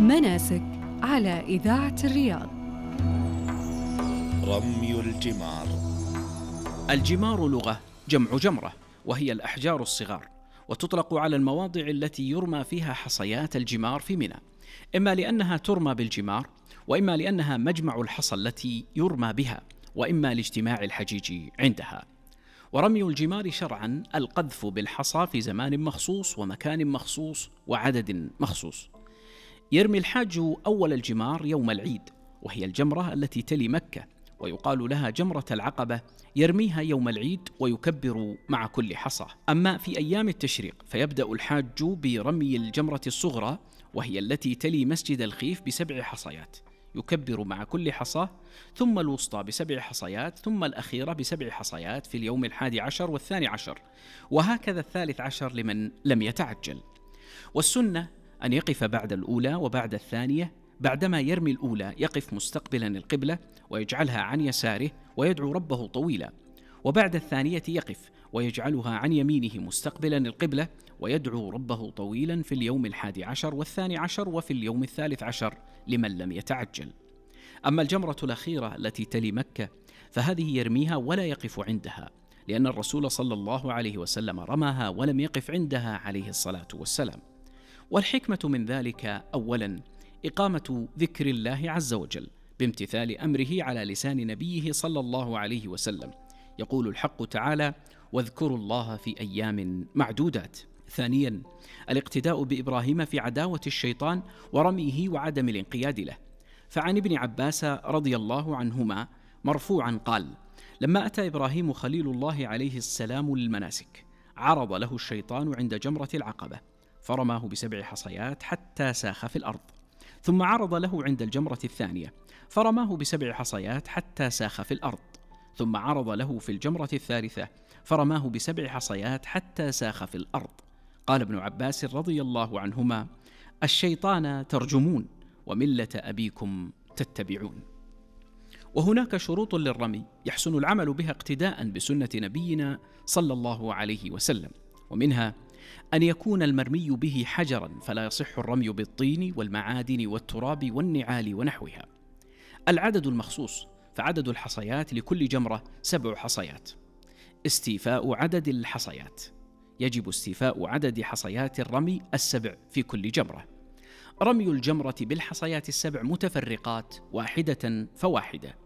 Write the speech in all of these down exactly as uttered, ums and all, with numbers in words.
مناسك على إذاعة الرياض. رمي الجمار. الجمار لغة جمع جمرة، وهي الأحجار الصغار، وتطلق على المواضع التي يرمى فيها حصيات الجمار في منى، إما لأنها ترمى بالجمار، وإما لأنها مجمع الحصى التي يرمى بها، وإما لاجتماع الحجيج عندها. ورمي الجمار شرعا القذف بالحصى في زمان مخصوص ومكان مخصوص وعدد مخصوص. يرمي الحاج أول الجمار يوم العيد، وهي الجمرة التي تلي مكة، ويقال لها جمرة العقبة، يرميها يوم العيد ويكبر مع كل حصى. أما في أيام التشريق فيبدأ الحاج برمي الجمرة الصغرى، وهي التي تلي مسجد الخيف بسبع حصيات، يكبر مع كل حصى، ثم الوسطى بسبع حصيات، ثم الأخيرة بسبع حصيات في اليوم الحادي عشر والثاني عشر، وهكذا الثالث عشر لمن لم يتعجل. والسنة أن يقف بعد الأولى وبعد الثانية. بعدما يرمي الأولى يقف مستقبلا القبلة ويجعلها عن يساره ويدعو ربه طويلا، وبعد الثانية يقف ويجعلها عن يمينه مستقبلا القبلة ويدعو ربه طويلا في اليوم الحادي عشر والثاني عشر وفي اليوم الثالث عشر لمن لم يتعجل. أما الجمرة الأخيرة التي تلي مكة فهذه يرميها ولا يقف عندها، لأن الرسول صلى الله عليه وسلم رماها ولم يقف عندها عليه الصلاة والسلام. والحكمة من ذلك أولا إقامة ذكر الله عز وجل بامتثال أمره على لسان نبيه صلى الله عليه وسلم. يقول الحق تعالى: واذكروا الله في أيام معدودات. ثانيا الاقتداء بإبراهيم في عداوة الشيطان ورميه وعدم الانقياد له. فعن ابن عباس رضي الله عنهما مرفوعا قال: لما أتى إبراهيم خليل الله عليه السلام للمناسك عرض له الشيطان عند جمرة العقبة فرماه بسبع حصيات حتى ساخ في الأرض، ثم عرض له عند الجمرة الثانية فرماه بسبع حصيات حتى ساخ في الأرض، ثم عرض له في الجمرة الثالثة فرماه بسبع حصيات حتى ساخ في الأرض. قال ابن عباس رضي الله عنهما: الشيطان ترجمون وملة أبيكم تتبعون. وهناك شروط للرمي يحسن العمل بها اقتداء بسنة نبينا صلى الله عليه وسلم، ومنها أن يكون المرمي به حجرا، فلا يصح الرمي بالطين والمعادن والتراب والنعال ونحوها. العدد المخصوص، فعدد الحصيات لكل جمرة سبع حصيات. استيفاء عدد الحصيات، يجب استيفاء عدد حصيات الرمي السبع في كل جمرة. رمي الجمرة بالحصيات السبع متفرقات واحدة فواحدة.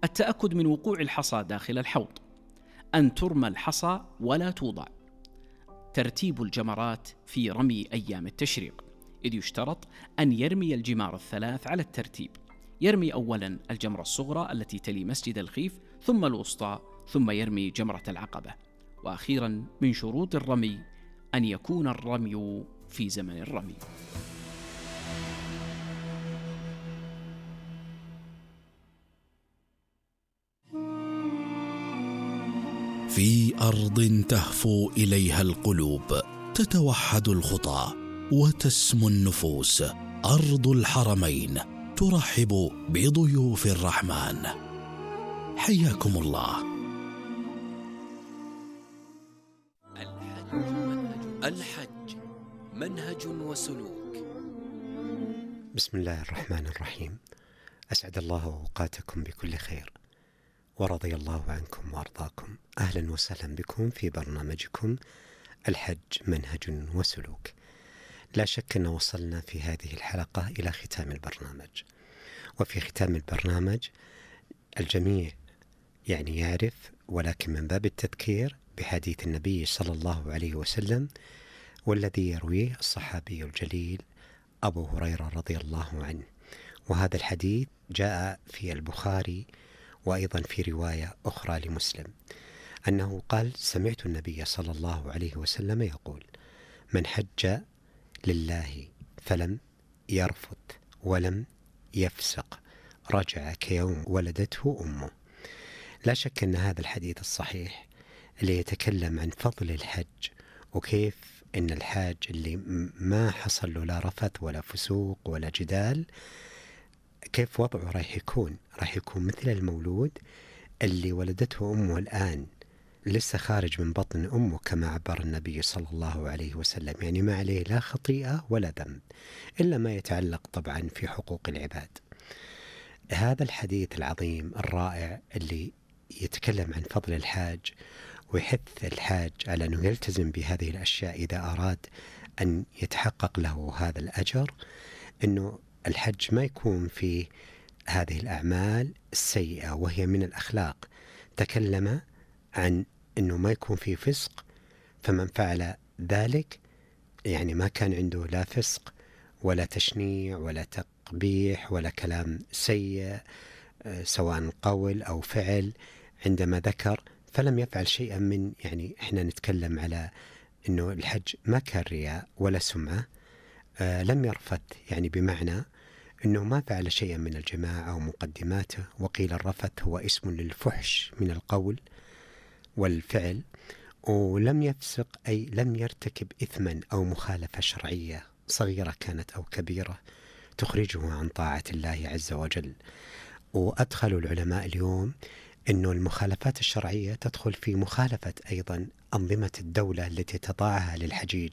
التأكد من وقوع الحصى داخل الحوض. أن ترمى الحصى ولا توضع. ترتيب الجمرات في رمي أيام التشريق، إذ يشترط أن يرمي الجمار الثلاث على الترتيب. يرمي أولا الجمرة الصغرى التي تلي مسجد الخيف، ثم الوسطى، ثم يرمي جمرة العقبة. وأخيرا من شروط الرمي أن يكون الرمي في زمن الرمي. في أرض تهفو إليها القلوب، تتوحد الخطى وتسمو النفوس، أرض الحرمين ترحب بضيوف الرحمن. حياكم الله. الحج الحج منهج وسلوك. بسم الله الرحمن الرحيم. أسعد الله أوقاتكم بكل خير، ورضي الله عنكم وأرضاكم. أهلا وسهلا بكم في برنامجكم الحج منهج وسلوك. لا شك أن وصلنا في هذه الحلقة إلى ختام البرنامج، وفي ختام البرنامج الجميع يعني يعرف، ولكن من باب التذكير بحديث النبي صلى الله عليه وسلم، والذي يرويه الصحابي الجليل أبو هريرة رضي الله عنه. وهذا الحديث جاء في البخاري وأيضا في رواية أخرى لمسلم، أنه قال: سمعت النبي صلى الله عليه وسلم يقول: من حج لله فلم يرفث ولم يفسق رجع كيوم ولدته أمه. لا شك أن هذا الحديث الصحيح اللي يتكلم عن فضل الحج، وكيف أن الحاج اللي ما حصل له لا رفث ولا فسوق ولا جدال، كيف وضعه راح يكون؟ راح يكون مثل المولود اللي ولدته أمه الآن لسه خارج من بطن أمه كما عبر النبي صلى الله عليه وسلم، يعني ما عليه لا خطيئة ولا ذنب إلا ما يتعلق طبعا في حقوق العباد. هذا الحديث العظيم الرائع اللي يتكلم عن فضل الحاج ويحث الحاج على أنه يلتزم بهذه الأشياء إذا أراد أن يتحقق له هذا الأجر، أنه الحج ما يكون في هذه الأعمال السيئة وهي من الأخلاق. تكلم عن أنه ما يكون في فسق، فمن فعل ذلك يعني ما كان عنده لا فسق ولا تشنيع ولا تقبيح ولا كلام سيء سواء قول أو فعل. عندما ذكر فلم يفعل شيئا من، يعني إحنا نتكلم على أنه الحج ما كان رياء ولا سمعة. آه لم يرفث، يعني بمعنى أنه ما فعل شيئا من الجماعة أو مقدماته. وقيل الرفث هو اسم للفحش من القول والفعل. ولم يفسق أي لم يرتكب إثما أو مخالفة شرعية صغيرة كانت أو كبيرة تخرجه عن طاعة الله عز وجل. وأدخلوا العلماء اليوم أنه المخالفات الشرعية تدخل في مخالفة أيضا أنظمة الدولة التي تضعها للحجيج.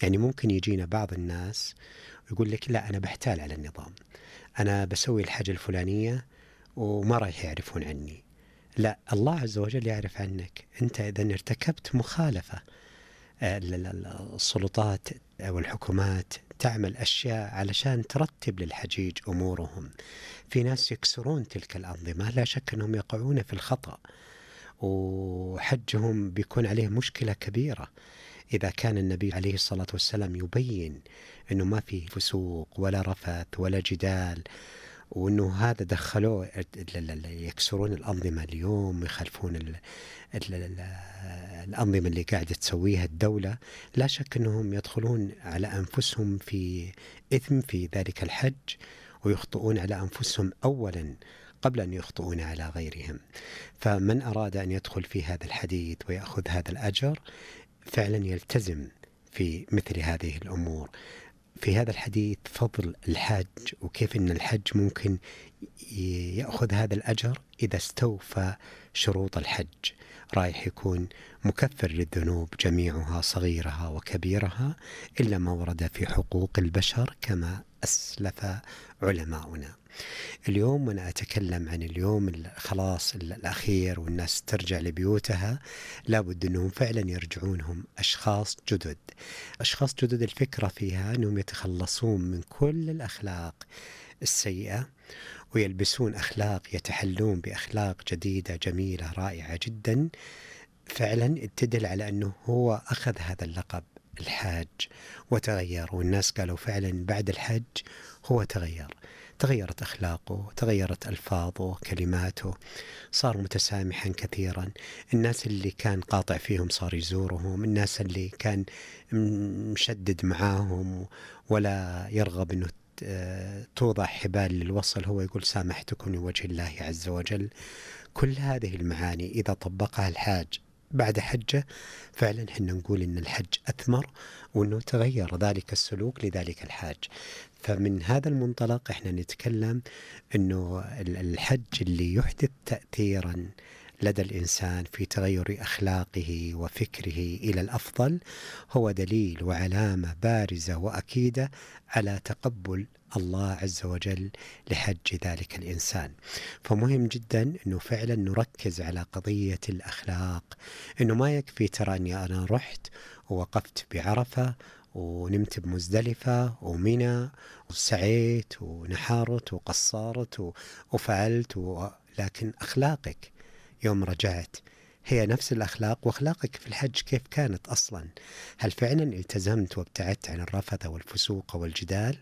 يعني ممكن يجينا بعض الناس ويقول لك لا أنا بحتال على النظام، أنا بسوي الحاجة الفلانية وما رايح يعرفون عني. لا، الله عز وجل يعرف عنك. أنت إذا ارتكبت مخالفة، السلطات أو الحكومات تعمل أشياء علشان ترتب للحجيج أمورهم. في ناس يكسرون تلك الأنظمة، لا شك أنهم يقعون في الخطأ وحجهم بيكون عليه مشكلة كبيرة. إذا كان النبي عليه الصلاة والسلام يبين أنه ما في فسوق ولا رفث ولا جدال، وأنه هذا دخلوه يكسرون الأنظمة اليوم ويخالفون ال ال ال الأنظمة اللي قاعدة تسويها الدولة، لا شك أنهم يدخلون على أنفسهم في إثم في ذلك الحج، ويخطئون على أنفسهم أولا قبل أن يخطئون على غيرهم. فمن أراد أن يدخل في هذا الحديث ويأخذ هذا الأجر فعلا يلتزم في مثل هذه الأمور. في هذا الحديث فضل الحج وكيف أن الحج ممكن يأخذ هذا الأجر إذا استوفى شروط الحج. رايح يكون مكفر للذنوب جميعها صغيرها وكبيرها إلا ما ورد في حقوق البشر كما أسلف علماؤنا. اليوم وأنا أتكلم عن اليوم خلاص الأخير والناس ترجع لبيوتها، لابد أنهم فعلا يرجعونهم أشخاص جدد. أشخاص جدد الفكرة فيها أنهم يتخلصون من كل الأخلاق السيئة ويلبسون أخلاق، يتحلون بأخلاق جديدة جميلة رائعة جدا، فعلا تدل على أنه هو أخذ هذا اللقب الحاج وتغير. والناس قالوا فعلا بعد الحج هو تغير، تغيرت أخلاقه، تغيرت ألفاظه، كلماته، صار متسامحا كثيرا. الناس اللي كان قاطع فيهم صار يزورهم، الناس اللي كان مشدد معاهم ولا يرغب أنه توضع حبال للوصل هو يقول سامحتكم لوجه الله عز وجل. كل هذه المعاني إذا طبقها الحاج بعد حجه فعلا حنا نقول إن الحج أثمر وأنه تغير ذلك السلوك لذلك الحاج. فمن هذا المنطلق احنا نتكلم أنه الحج اللي يحدث تأثيرا لدى الإنسان في تغير أخلاقه وفكره إلى الأفضل هو دليل وعلامة بارزة وأكيدة على تقبل الله عز وجل لحج ذلك الإنسان. فمهم جدا أنه فعلا نركز على قضية الأخلاق، أنه ما يكفي ترى أني أنا رحت ووقفت بعرفة ونمت بمزدلفة ومنى وسعيت ونحارت وقصارت وفعلت و... لكن أخلاقك يوم رجعت هي نفس الأخلاق، وأخلاقك في الحج كيف كانت أصلا؟ هل فعلا التزمت وابتعدت عن الرفث والفسوق والجدال،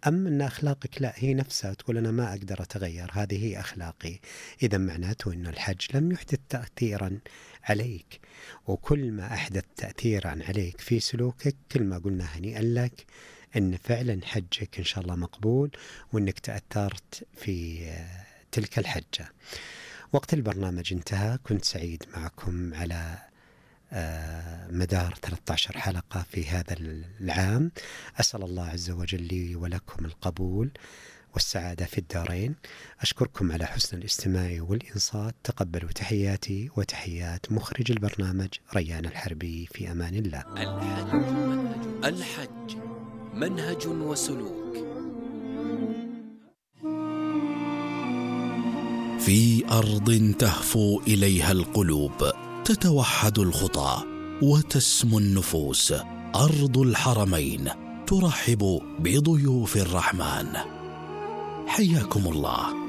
أم أن أخلاقك لا هي نفسها تقول أنا ما أقدر أتغير، هذه هي أخلاقي؟ إذا معناته أن الحج لم يحدث تأثيرا عليك، وكل ما أحدث تأثيرا عليك في سلوكك كل ما قلنا هنيئا لك أن فعلا حجك إن شاء الله مقبول وأنك تأثرت في تلك الحجة. وقت البرنامج انتهى، كنت سعيد معكم على مدار ثلاثة عشر حلقة في هذا العام. أسأل الله عز وجل لي ولكم القبول والسعادة في الدارين. أشكركم على حسن الاستماع والإنصات. تقبلوا تحياتي وتحيات مخرج البرنامج ريان الحربي. في أمان الله. الحج منهج, الحج منهج وسلوك. في أرض تهفو إليها القلوب تتوحد الخطى وتسمو النفوس. أرض الحرمين ترحب بضيوف الرحمن. حياكم الله.